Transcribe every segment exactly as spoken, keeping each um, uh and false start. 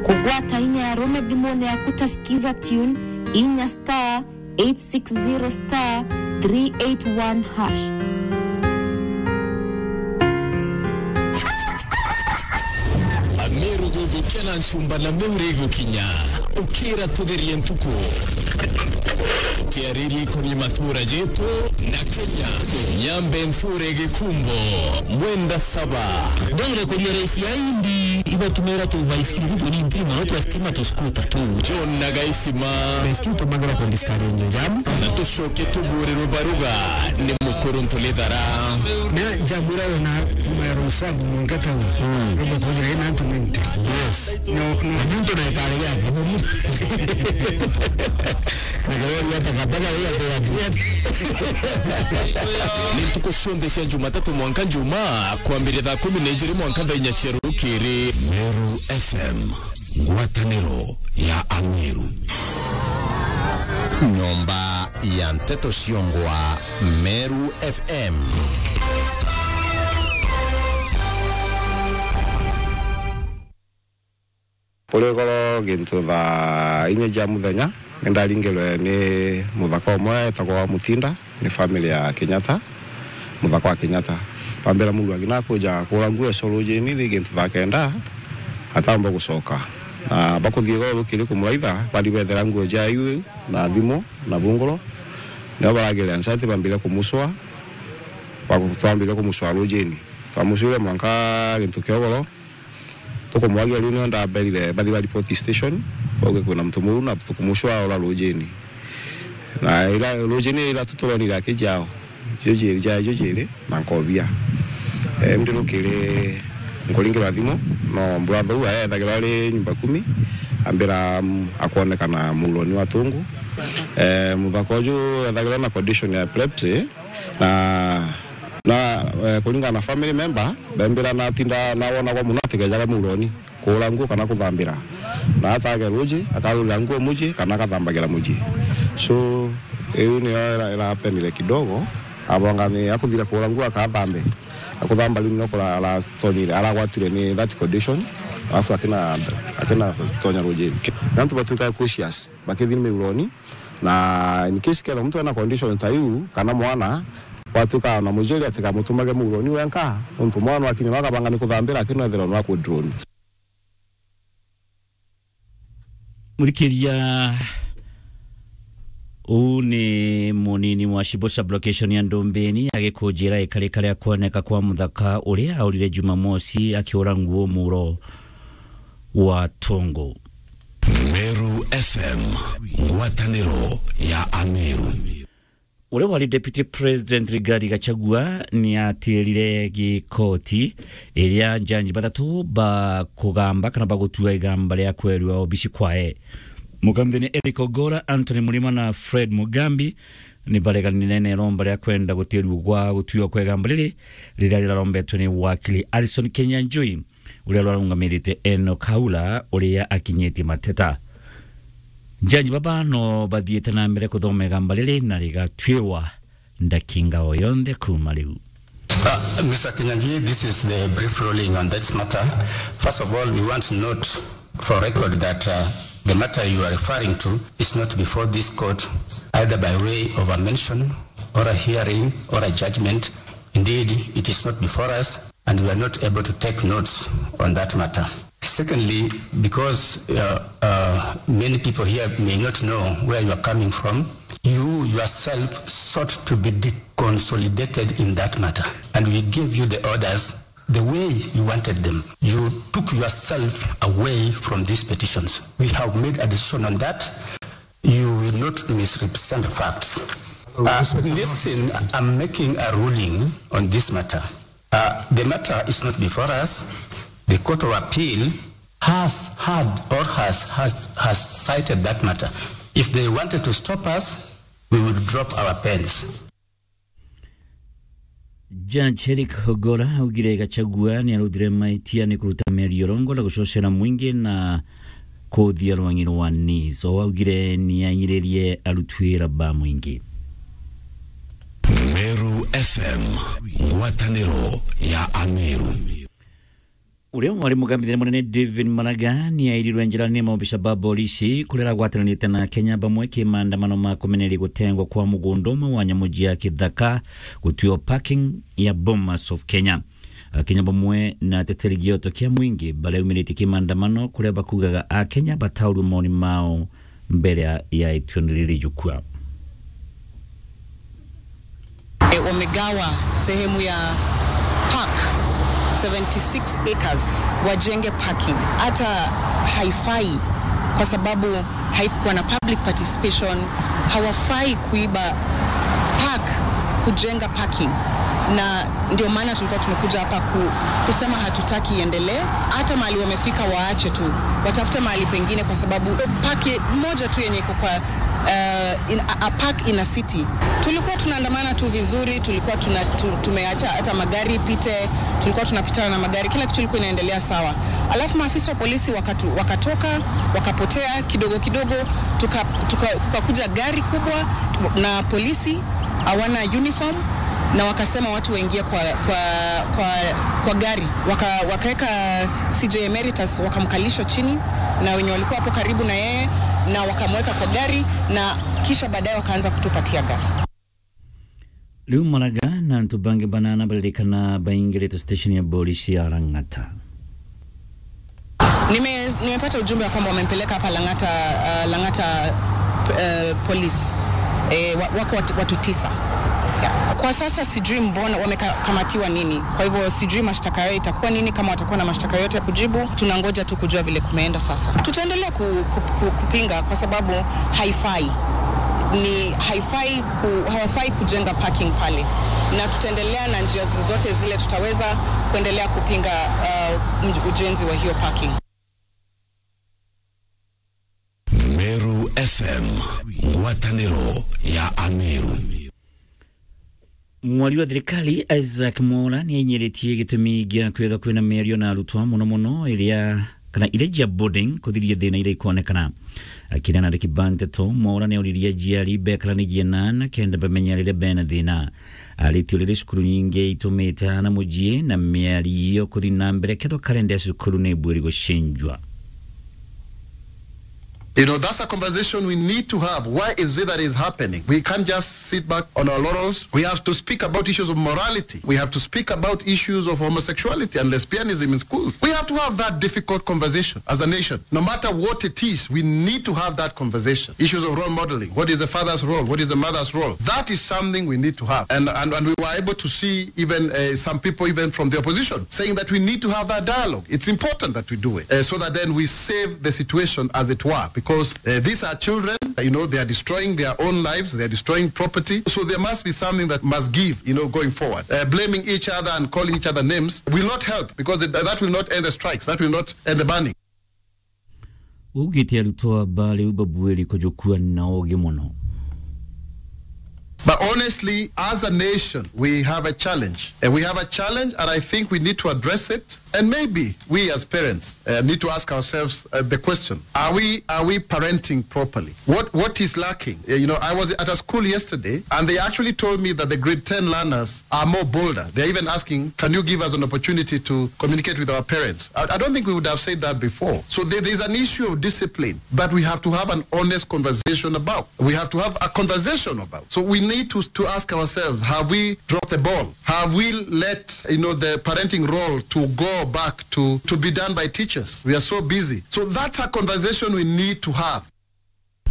Kugwata inya ya rume thimune yaku ta Skiza Tune, inya star eight six zero star three eight one hash. Ameru gugukia na ncumba na meuri gukinya. Ukira tutherie ntuku. Tukiariria ikoni matura jetu na Kenya. Nyambe nthure gikumbo. Mwenda saba. Ndere kuria raisi ya indi ibatumira tu baisikiri tu tuni ntirima no twa stima tu skuta tu. John na Gaisima. Baisikiri tumagira ku discourage jam. Na tucoke tubure rubaruga ni mukuru ntulithara. Na jam ira wona kuma ya Rosabu mwanka tau. Mm. Rubakuthira ina antu ninety. Yes. No, no. Muntu na ikari yake. Nikaweria takataka ira tu yake. Ni ntuku cionthe cia Jumatatu mwanka Njumaa, kwambiria thaa kumi na ijiri mwanka thaa inya cia rukiri. Meru F M, ngwataniro ya Ameru. Nyomba ya nteto ciongwa, Meru F M. Kuri goro gintu thaa inya cia muthenya, ni ndaringirwe ni muthaka umwe etagwa wa Mutinda, ni family ya Kenyatta, muthaka wa Kenyatta. Bambira muru akina kuja kura nguo eco rujini, thi gintu thaa kenda, atamba gucoka. Na bakuthii goro rukiri kumuraitha, bari bethera nguo cia iu na thimu na bunguro. Nio baragire anxiety, bambire kumucwa, baku-, twambire kumucwa rujini. Twamucwire mwanka gintu kia ugoro, tukumwagia riu nio ndaberire bathi ba report station, bauge kwina muntu muru na tukumucwa ura rujini. Na ira rujini ira tuturonire akijao, jujiri ja jujiri na nkobia. Eh, ndi rukiri nkuringirwa thimu, no brother uu aethagirwa ari nyumba kumi, ambira, mm, akwonekana muroni wa tungu. Eh, muthaka uju ethagirwa na condition ya epilepsy, na, na, eh, kuringana na family member, bembira natinda nawonagwa muno atigejaga muroni kuura nguo kana kuthambira. Na atage ruji, akarurira nguo muji, kana agathambagira muji. So, iu niyo ira-, irapenire kidogo, abonga ni akuthira kuura nguo akathambe. Akuthamba riu nio kura-, aratonyire, aragwatire ni that condition, alafu akina, akina tonya rujini. Na antu batuika cautious, bakithi miuroni, Na in case kethira muntu ena condition ta iu, kana mwana, gwatuika na mujiri atikamutumage muroni wenka, nontu mwana akinya no akabanga ni kuthambira, lakini no ethirwa no akudroni. Muthikiria, uu ni munini wa Shibusha location ya Ndumbini, agikunjira ikarika ria kwoneka kwa muthaka uria aurire Jumamosi akiura nguo muro wa tungu. Meru F M, ngwataniro ya Ameru. Uria wari Deputy President Rigathi Gachagua ni atirire gikoti iria njanji bathatu ba kugamba kana ba gutua igamba ria kwerua obici kwae. Mukamithania Eric Ogora, Anthony Murima na Fred Mugambi ni bareganire na iromba ria kwenda gutirua gwa gutua kwa igamba riri riria rirarombetwe ni wakili Alison Kenyanjui. Uria rwarungamirite Enoch Haula, uria akinyitie mateta. Njanji baba no bathiite na mbere kuthoma igamba riri na rigatuirwa ndakinga o yonthe kuuma riu. Uh, Mister Kinyanjui, this is the brief ruling on that matter. First of all, we want to note for record that, uh, the matter you are referring to is not before this court, either by way of a mention or a hearing or a judgment. Indeed, it is not before us, and we are not able to take notes on that matter. Secondly, because, uh, uh, many people here may not know where you are coming from, you yourself sought to be deconsolidated in that matter, and we gave you the orders the way you wanted them. You took yourself away from these petitions. We have made a decision on that. You will not misrepresent facts. Uh, listen, I'm making a ruling on this matter. Uh, the matter is not before us. The Court of Appeal has heard or has, has, has cited that matter. If they wanted to stop us, we would drop our pens. Judge Eric Ogora augire Gachagua ni aruthire maitia ni kuruta miario rongo na gucocera mwingi na kuthia rwangi rwa Nice. O augire ni anyiririe arutuira ba mwingi. Meru F M, ngwataniro ya Ameru. Uria wari mugambithia munene David Maraga ni airirwe njira ni maobisa ba polisi kuria aragwatiranite na Akenya bamwe ki maandamano ma kumeneria gutengwa kwa mugunda umwe wa nyamu cia kithaka gutwio parking ya Bomas of Kenya. Akenya bamwe na ateteri gioto kia mwingi bariaumiritie ki maandamano kuria bakugaga Akenya bataurwe maoni mao mbere ya, ya ituo riri jukua. E, wamegawa sehemu ya park seventy six acres wajenge parking. Hata haifai kwa sababu haikuwa na public participation. Hawafai kuiba park kujenga parking, na ndio maana tulikuwa tumekuja hapa ku, kusema hatutaki iendelee. Hata mahali wamefika waache tu, watafute mahali pengine, kwa sababu park moja tu yenye iko kwa, uh, in, a, a park in a city. Tulikuwa tunaandamana tu vizuri, tulikuwa tuna, tu, tumeacha hata magari ipite, tulikuwa tunapitana na magari, kila kitu ilikuwa inaendelea sawa. Alafu maafisa wa polisi wakatu, wakatoka, wakapotea kidogo kidogo, tuka, tuka, tukakuja gari kubwa na polisi hawana uniform, na wakasema watu waingie kwa, kwa, kwa, kwa gari. Waka, wakaweka C J Emeritus, wakamkalisha chini na wenye walikuwa hapo karibu na yeye, na wakamweka kwa gari, na kisha baadaye wakaanza kutupa tear gas. Riu Maraga na antu bangi banana baririkana baingirite station ya polisi ya Lang'ata. Nime-, nimepata ujumbe ya kwamba wamempeleka hapa Lang'ata, uh, Lang'ata, uh, police. Eh, wa-, wako watu, watu tisa. Yeah. Kwa sasa sijui mbona wamekamatiwa nini. Kwa hivyo sijui mashtaka yao itakuwa nini, kama watakuwa na mashtaka yote ya kujibu. Tunangoja tu kujua vile kumeenda sasa. Tutaendelea ku-, ku-, ku-, kupinga kwa sababu haifai. Ni haifai ku-, hawafai kujenga parking pale. Na tutaendelea na njia zote zile tutaweza kuendelea kupinga, uh, mj-, ujenzi wa hiyo parking. Meru F M, ngwataniro ya Ameru. Mwari wa thirikari Isaac Mwaura ni ainyiritie gitumi gia kwithwa kwina miario na arutwa, muno muno iria, kana iria cia boarding, kuthiria thina iria ikonekana. Akiria na andiki ba nteto, Mwaura ni auririe aciari bekaranirie na aana kenda bamenya riria bena thina. Aritio riria cukuru nyingi itumite aana mujii na miario kuthi na mbere, kethwa kalenda ya cukuru ni ibwiri gucenjua. You know, that's a conversation we need to have. Why is it that is happening? We can't just sit back on our laurels. We have to speak about issues of morality. We have to speak about issues of homosexuality and lesbianism in schools. We have to have that difficult conversation as a nation. No matter what it is, we need to have that conversation. Issues of role modeling. What is the father's role? What is the mother's role? That is something we need to have. And, and, and we were able to see even, uh, some people, even from the opposition, saying that we need to have that dialogue. It's important that we do it, uh, so that then we save the situation, as it were, because, uh, these are children, you know, they are destroying their own lives, they are destroying property. So there must be something that must give, you know, going forward. Uh, blaming each other and calling each other names will not help, because that, that will not end the strikes, that will not end the burning. Ugite arutwa ba riu babuiri kujukua na ugi muno. But honestly, as a nation, we have a challenge. And we have a challenge, and I think we need to address it. And maybe we as parents, uh, need to ask ourselves, uh, the question, are we, are we parenting properly? What, what is lacking? Uh, you know, I was at a school yesterday, and they actually told me that the grade ten learners are more bolder. They're even asking, "Can you give us an opportunity to communicate with our parents?" I, I don't think we would have said that before. So there, there's an issue of discipline that we have to have an honest conversation about. We have to have a conversation about. So we need to, to ask ourselves, have we dropped the ball? Have we let, you know, the parenting role to go back to, to be done by teachers? We are so busy. So that's a conversation we need to have.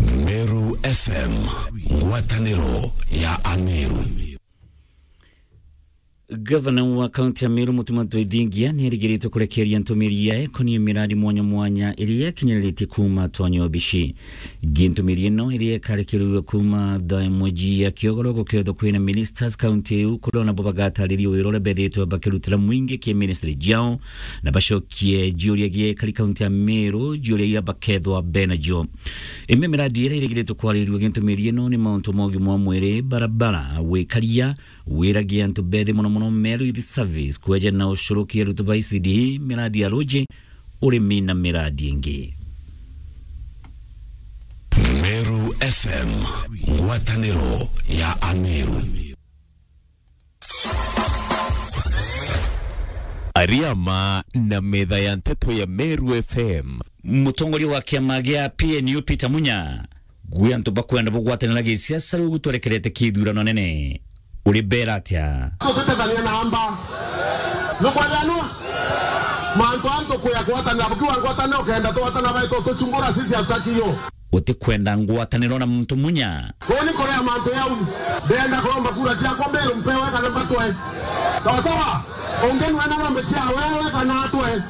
Meru F M, ngwataniro ya Ameru. Gavana wa kaunti ya Meru, Mutuma M'Ethingia, ni arigiritwe kurekeria ntumiri ya ekonomi miradi mwanya mwanya iria ikinyiritie kuuma tonyo bici. Ngi ntumiri ino iria ikarekerirwe kuuma thaa imwe cia kiogoro gukethwa kwina ministers kaunti iu, kuria nabo bagatariria wira uria bethitwe bakirutira mwingi ki ministry ciao, na bacokie ciuria gia ekari kaunti ya Meru, ciuria iria bakethwa benacio. Imwe miradi iria irigiritwe kwaririrua gintumiri ino ni mauntu ma ugima wa mwiri, barabara, wikaria, wiragia antu bethi, muno muno Meru Youth Service, kweja na ucurukia arutu ba E C D E, miradi ya ruji, urimi na miradi ingi. Meru F M, ngwataniro ya Ameru. Riama na metha ya nteto ya Meru F M. Mutongoria wa kiama gia P N U Peter Munya, gwi antu bakwenda bugwatanira gisiasa riu gutwerekerete kithurano nene. Uri bera atia? Tutitethania na amba. Nukwajanua? Mantu antu kuya gwatanira, bukiwa ngwatanira ukenda twatana baitu tuchungura sisi hatutaki hiyo. Utikwenda ngwataniro na muntu Munya? Kuni kuria mantu yau. Ndenda kuromba kura ciakwa mbiru mpewe kana mbatwe. Sawa sawa? Ungi nwena ng'ombe cia wewe kana atwe.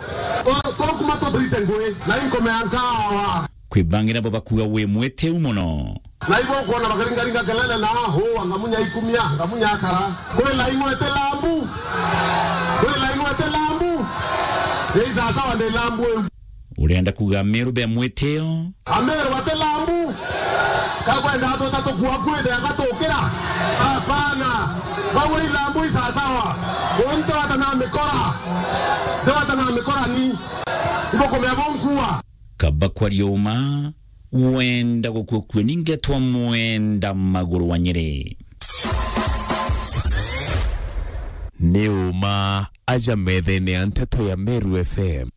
Tokuma tuthirite ngui na inkomea nkawa. Kwi bangi nabo bakuga wi mwitiu mono. Na ibo ukwona bakaringaringa kelele na huu, ngamunya ikumia, ngamunya akara. Kwila ingwete lambu. Kwila ingwete lambu. Ni sawa sawa ndi lambu iu. Urenda kuga Meru be mwitio? Ameru bate lambu. Kakwenda atweta tukua kwithe agatukira. Hapana. Bawe ilambu isasawa. Untu atanamikora. Ndio atanamikora ni. Ibo kumea bonkua. Kaba kwaria uma, wenda gukua kue ningetwa mwenda maguru wa Nyeri. Ni uma aja methene ya nteto ya Meru F M.